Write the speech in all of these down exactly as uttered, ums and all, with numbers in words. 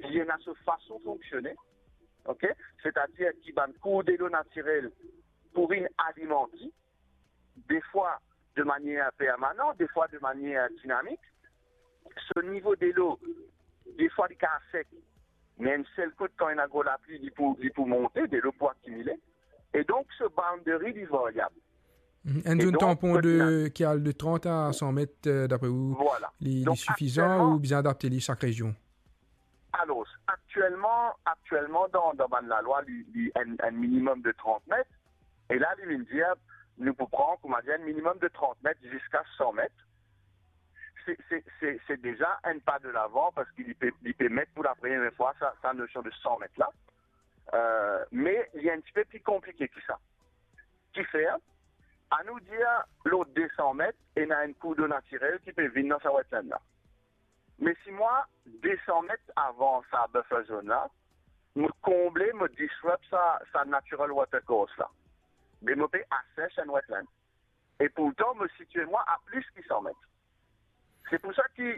li ena so fason fonksione, ok? Setadir ki bann kour delo natirel pou vinn alimante, defwa de manier permanan, defwa de manier dinamik. So nivo delo, defwa li kapav sek, me enn sel kout, kan ena gro lapli, li pou, li pou monte, delo pou akimile. E donk, so boundary, li varyab. Mhm. Enn E zone donk, tanpon kot de, ena ki al de trant a san met, euh, dapre ou, Vwala. li, li Donk, sifizan aktielman ou bizin adapte li sak rezion? Alor, aktielman, aktielman, dan, dan bann lalwa, li, li enn, enn minimem de trant met. E la, li vinn dir, nou pou pran, koumadir, enn minimem de trant met ziska san met. Se, se, se, se deza enn pa de lavan, parski li pe, li pe met pou lapremier fwa sa, sa nosion de san met la. Euh, me li enn tipe pli konplike ki sa. Kifer, anou dir, lor de san met, ena enn kour delo natirel ki pe vinn dan sa wetland la. Me si mwa, de san met avan sa buffer zone la, mo konble, mo disrupt sa, sa natural water course la, be mo pe asèch enn wetland. E pourtan, mo sitie mwa a plis ki san met. Se pou sa ki,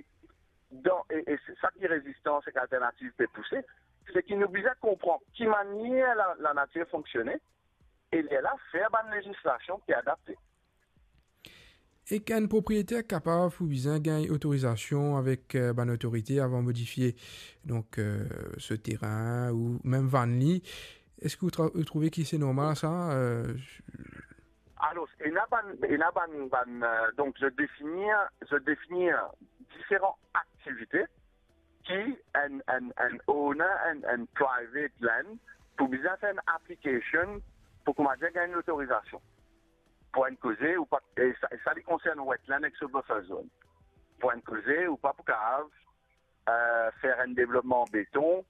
dan, e, e se sa ki Rezistans ek Alternativ pe pouse, se ki nou bizin konpran ki manier la, lanatir fonksione, e lerla fer bann lezislasion ki adapte. Ek enn propriyeter kapav ou bizin gagn otorizasion avek, euh, bann otorite avan modifie, donk, euh, so terin ou mem vann li. Eski ou tra-, ou trouve ki se normal sa, euh? Alor, ena bann, ena bann, bann, euh, donk, zot definir, zot definir diferan aktivite ki enn, enn, enn owner, enn, enn private land pou bizin fer enn application pou koumadir gagn lotorizasion. Pou enn koze, ou pa, e sa, e sa li konsern wetland ek so buffer zone. Pou enn koze, ou pa pou kapav, euh, fer enn devlopman beton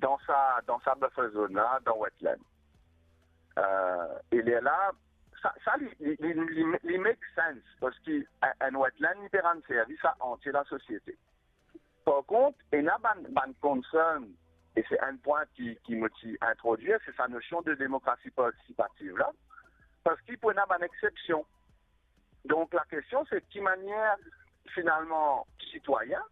dan sa, dan sa buffer zone la, dan wetland. Euh, e lerla, sa, sa li, li, li, li, li make sense, parski enn, enn wetland, li pe rann servis a antie lasosiete. Par kont, ena bann, bann concern, e se enn pwin ki, ki mo ti introdwir, se sa nosion de demokrasi partisipativ la, parski pou ena bann exsepsion. Donk, lakestion, se ki manier, finalman, sitwayin,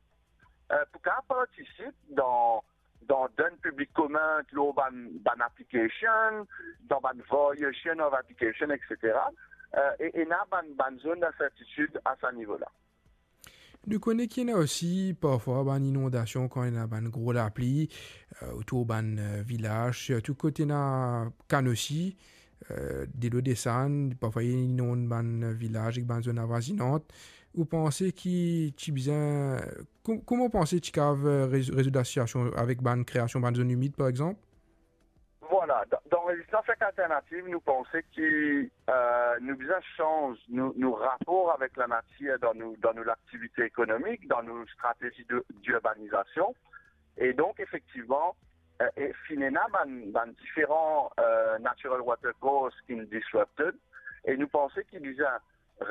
euh, pou kapav partisip dan, dan donn piblik komin lor bann, bann application, dan bann variation of application, et cetera. Euh, e, ena bann, bann zone d'insertitid a sa nivo la. Nou kone ki ena osi parfwa bann inondasion kan ena bann gro lapli, euh, otour bann, euh, vilaz, sirtou kot ena kan osi, euh, delo desann, parfwa li inonn bann vilaz ek bann zone avoizinant. Ou panse ki ti bizin, ko-, kouma ou panse ti kav, euh, rez-, rezoud lasitiasion avek bann kreasion bann zone imid, par exanp? Vwala, dan, dan Rezistans ek Alternativ, nou panse ki, euh, nou bizin sanz nou, nou rapor avek lanatir dan nou, dan nou laktivite ekonomik, dan nou stratezi de, dirbanizasyon. E donk, efektivman, euh, e finn ena bann, bann diferan, euh, natural water course ki disrupted. E nou panse ki bizin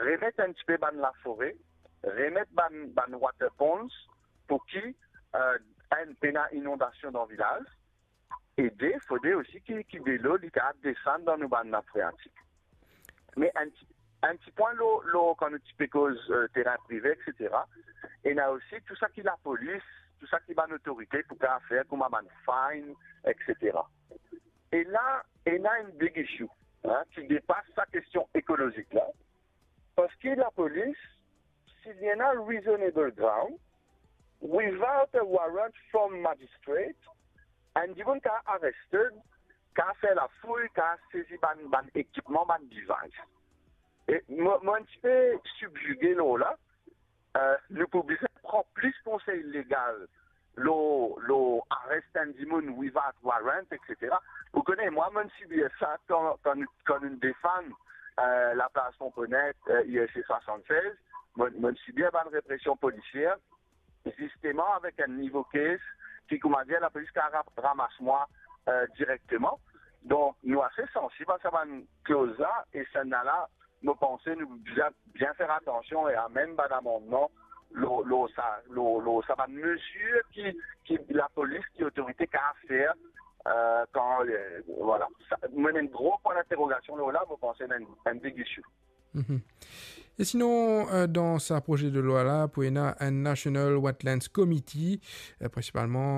remet enn tipe bann lafore, remet bann, bann water ponds, pou ki, euh, enn pena inondasyon dan vilaz, e de, fode osi ki, ki delo li kapav desann dan nou bann nap freatik. Me enn ti, enn ti pwin lor, lor kan nou ti pe koz, euh, terin prive, et cetera. Ena osi tou sa ki lapolis, tou sa ki bann otorite pou kapav fer kouma bann fine, et cetera. E la, ena enn big issue, hein, ki depas sa kestion ekolozik la. Parski lapolis, si li ena reasonable ground, without a warrant from magistrate, enn dimoun kapav arested, kapav fer lafouy, kapav sezi bann, bann ekipman, bann device. E mo, mo enn tipe sibzige lor la, euh, nou pou bizin pran plis konsey legal lor, lor arest enn dimoun without warrant, et cetera. Ou kone, mwa, mo'nn sibir sa kan, kan, kan nou'nn defann, euh, laplas Pon Bonet, euh, I S C swasannsez, mo'nn, mo'nn sibir bann represion polisier, zisteman avek enn nivo case ki, koumadir, lapolis kapav ra-, ramas mwa, euh, direkteman. Donk, nou ase sansib a sa bann kloz la, e sannla, mo panse nou bizin bien fer atansyon e amenn bann amannman lor, lor sa, lor, lor sa bann mezir ki, ki lapolis, ki otorite kapav fer, euh, kan, euh, vwala. Sa, mo ena enn gro pwin dinterogasyon lor la, mo panse ena enn, enn big issue. Mhm. E sinon, euh, dan sa proze de lwa la, pou ena enn National Wetlands Committee, euh, prinsipalman